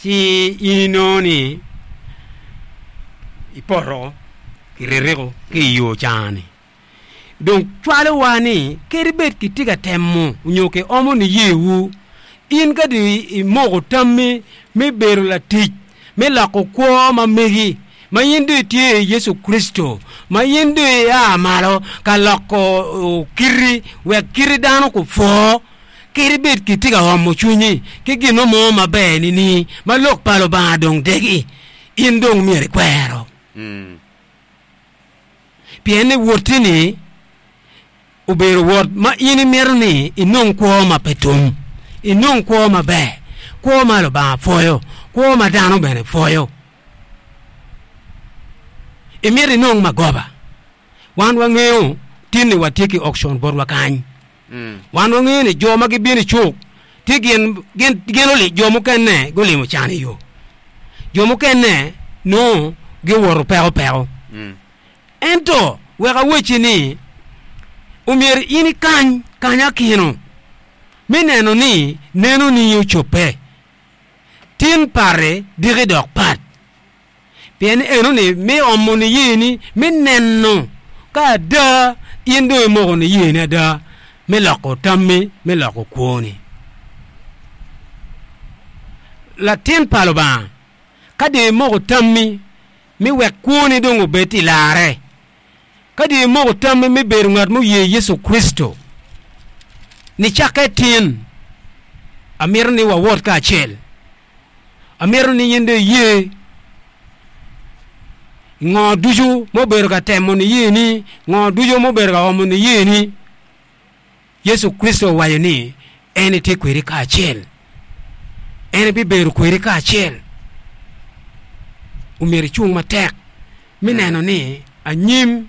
Ci in inongo ni ipoto kiririko ki i yo ca-ni. Dong cwalowa ni kadi bed kitye ka temo nyo kiomo niyewu, in ka dong imoko tammi me bedo latic me loko kwo ma megi, ma in dong itye i Yecu Kricito, ma in dong ia malo ka loko kiti wek kiti dano gupwo, kadi bed kitye ka omo cwinyi ki gin mo maber nining ma Lok pa Lubanga dong degi, in dong myero ikwero. Pien ni wotti-ni obedo wot ma in imito ni inong kwo ma pe tum, inong kwo maber, kwo ma Lubanga pwoyo, kwo ma dano bene pwoyo. Imito inong magoba. Wan wangeyo tin-ni watye ki auction botwa kany. Wan wangeyo ni jo ma gibino i cuk tye gin, gin, gin oli, jo mukene gulimo can i yo, jo mukene nongo giwoto peko peko. Ento wek awacci ni omyero in ikany kanyakino me neno ni nenoni ocobbe. Tin pati diki dok pat. Pien enoni me omo niyeni me neno ka ada in dong imoko niyeni ada me loko tammi, me loko kwoni. Latin pa Lubanga, ka dong imoko tammi me wek kwoni dong obed i larre, ka dong imoko tammi me bedo ngat muye Yecu Kricito, nicakke tin, amito ni wawot kacel. Amito ni in dong iye ngo ducu ma obedo ka temo niyeni, ngo ducu ma obedo ka omo niyeni. Yecu Kricito owaco ni en etye kwedi kacel, en ebibedo kwedi kacel. Omyero icung matek me neno ni anyim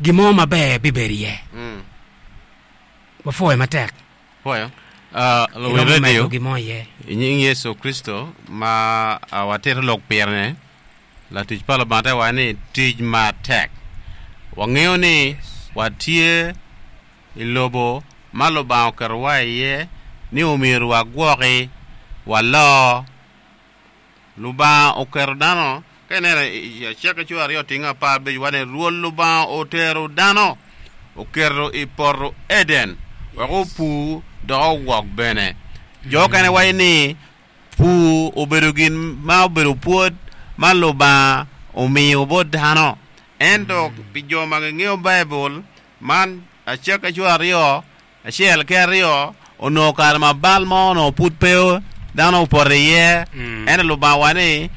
gin mo maber bibedo iye. Wapwoyo matek. Pwoyo. Luwil Iromo medo radio, gin mo iye. i nying Yecu Kricito ma watito lok pire-ni, latic pa Lubanga te waco ni tic matek. Wangeyo ni watye i lobo ma Lubanga oketowa iye ni omyero wagwoki, walor. Lubanga oketo dano, ka ineno i Acakki cura aryo tingo 15 waco ni, Rwot Lubanga otero dano oketo i poto Eden wek opur dok ogwok bene. Jo mukene waco ni pur obedo gin ma obedo pwod ma Lubanga omiyo bot dano. Ento pi jo ma gingeyo Baibul, man Acakki cura aryo Acel ki aryo, onongo kare ma bal mo onongo pud pe dano opoto iye, ento Lubanga owaco ni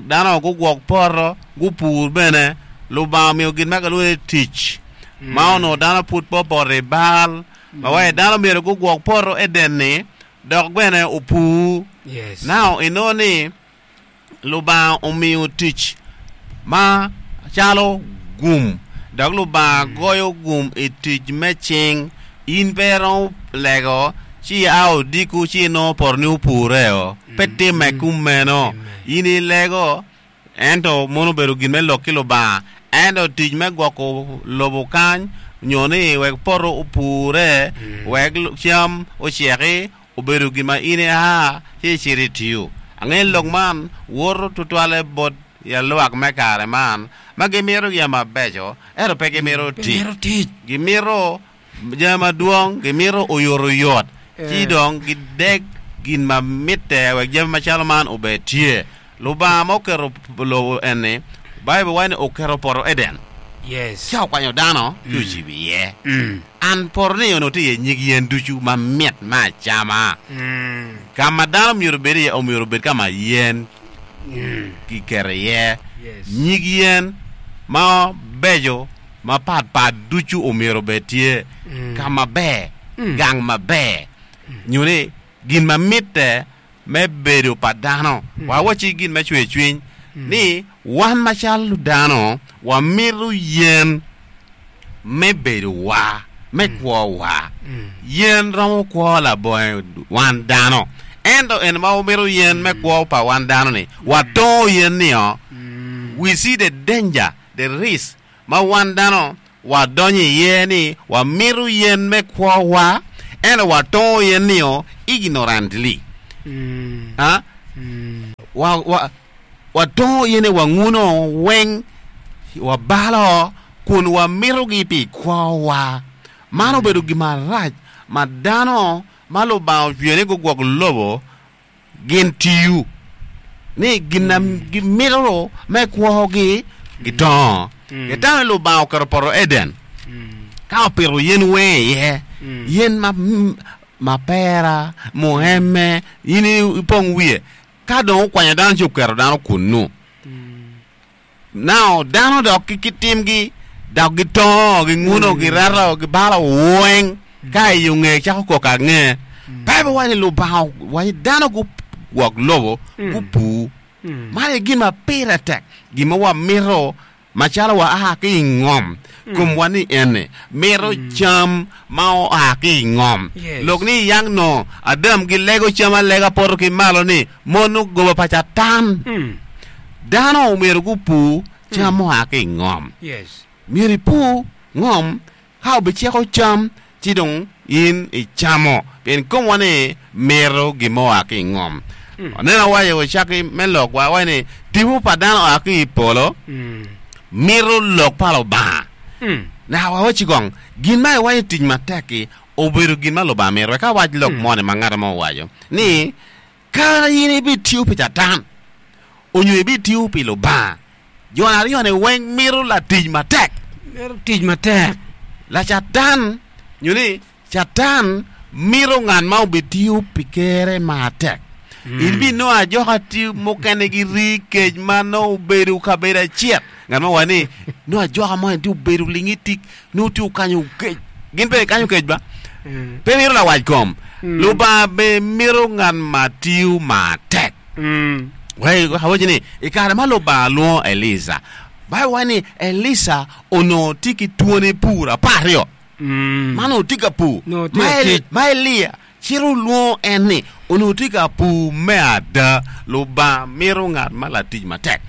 dano gugwok poto, gupur bene. Lubanga omiyo gin ma kilwongo ni tic, ma onongo dano pud pe opoto i bal, ma waco ni dano myero gugwok poto Eden-ni dok bene opur. Now inongo ni Lubanga omiyo tic ma calo gum, dok Lubanga goyo gum i tic me cing. In pe iromo lego ci ia odiko ci inongo potoni opureo. Pe timme kumeno. In ilego, ento mono obedo gin me lok ki Lubanga. Ento tic me gwoko lobo kany nyo ni wek poto opure, wek cam oceki, Obedo gin ma in ia ci icito itiyo. Angeyo ni lok man woto tutwalle bot yalwak me kare man ma gimito jami mabeco ento pe gimito tic. Gimito jami madwong, gimito oyotoyot, ci dong gideg gin ma mitte wek jami macalo man obed tye. Lubanga ma oketo lobo eni, Baibul waco ni oketo poto Eden, ca okwanyo dano ci ocibo iye. An poto-ni onongo tye iye nyig yen ducu mamit me acama. Ka ma dano myero obed iye omyero obed ka ma yen kiketo iye. Nyig yen mabeco mapatpat ducu omyero obed tye ka maber, gang maber, nyo ni gin ma mitte me bedo pa dano. Wawacci gin me cwercwiny ni wan macalo dano wamito yen me bedowa, me kwowa. Yen romo kwo labongo wan dano. Ento en ma wamito yen me kwo pa wan dano-ni, watongo yen nio. We see the danger, the risk ma wan dano wadonyo iye ni wamito yen me kwowa, ento watongo yen nio ignorantly. Wa, wa, watongo yene, wanguno weng, wabalo, kun wamitogi pi kwowa. Man obedo gin marac ma dano ma Lubanga ocweyo ni gugwok lobo gin tiyo, ni gin na gimito me kwogi gitongo. Gitamo ni Lubanga oketo poto Eden ka opito yen weng iye, yen ma mapera, mueme, in ipong wiye. Ka dong okwanyo dano ci oketo dano kunnu. Now dano dok ki kit timgi dok gitongo, ginguno, gireto, gibalo weng ka i yo nge cako koko ange. Baibul waco ni Lubanga owaco ni dano gugwok lobo gupur. Man aye gin ma pire tek, gin ma wamito macalo wa a ki i ngom. Komwa ni ene mito cam ma oa ki i ngom. Lok ni yang nongo Adam gilego cam alega poto ki malo ni mono goba pa Catan. Dano omyero gupur cam mua ki i ngom. Myero ipur ngom ka obiceko cam ci dong in icamo pien komwa ni mito gin ma oa ki i ngom. Waneno awaco i cakki me lokwa awaco ni tipo pa dano oa ki i polo mito lok pa Lubanga. Naka wawaci kong gin ma iwaco tic matek-ki obedo gin ma Lubanga mito. Wek awac lok moni ma ngat mo owaco ni Ka in ibitiyo pi Catan onyo ibitiyo pi Lubanga, jo aryo-ni weng mito latic matek. Mito tic matek. Lacatan nyo ni Catan mito ngat ma obitiyo pi Kerre matek. Ibinongo ajoka tye mukene giri kec ma nongo obedo kabedo acel. Ngat mo owaco ni nongo ajoka mo eni tye obedo lingi tic nongo tye okanyo kec. Gin pe gikanyo kec ba? Pe mito lawac kom. Lubanga bene mito ngat ma tiyo matek. Wek awaci ni i kare ma Lubanga lwongo Elica, Baibul waco ni Elica onongo tye ki twoni pur aparyo. Man onongo tye ka pur. Onongo tye ka tic. Ma Elia cito olwongo en ni onongo tye ka pur me ada. Lubanga mito ngat ma latic matek.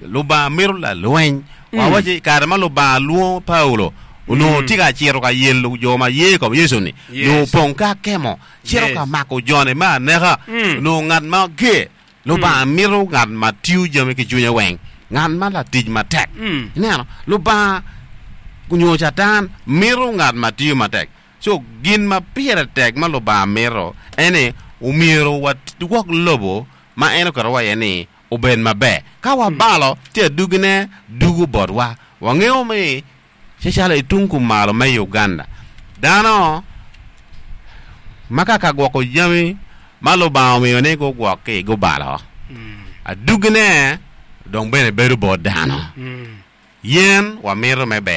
Lubanga mito lalweny. Wawaci i kare ma Lubanga lwongo Paulo, onongo tye ka cito ka yelo jo ma ye i kom Yecu-ni. Onongo opong ki akemo, cito ka mako jone me aneka. Onongo ngat ma ger. Lubanga mito ngat ma tiyo jami ki cwinye weng, ngat ma latic matek. Ineno, Lubanga nyo Catan mito ngat ma tiyo matek. Co, gin ma pire tek ma Lubanga mito en ni omyero wadwok lobo ma en oketowa iye ni obed maber. Ka wabalo, ci adwogine dugo botwa. Wangeyo ni calo i tung kumalo me Uganda, dano ma ka ka gwoko jami ma Lubanga omiyo ni gugwok-ki gubalo, adwogine dong bene bedo bot dano. Yen wamito me ber.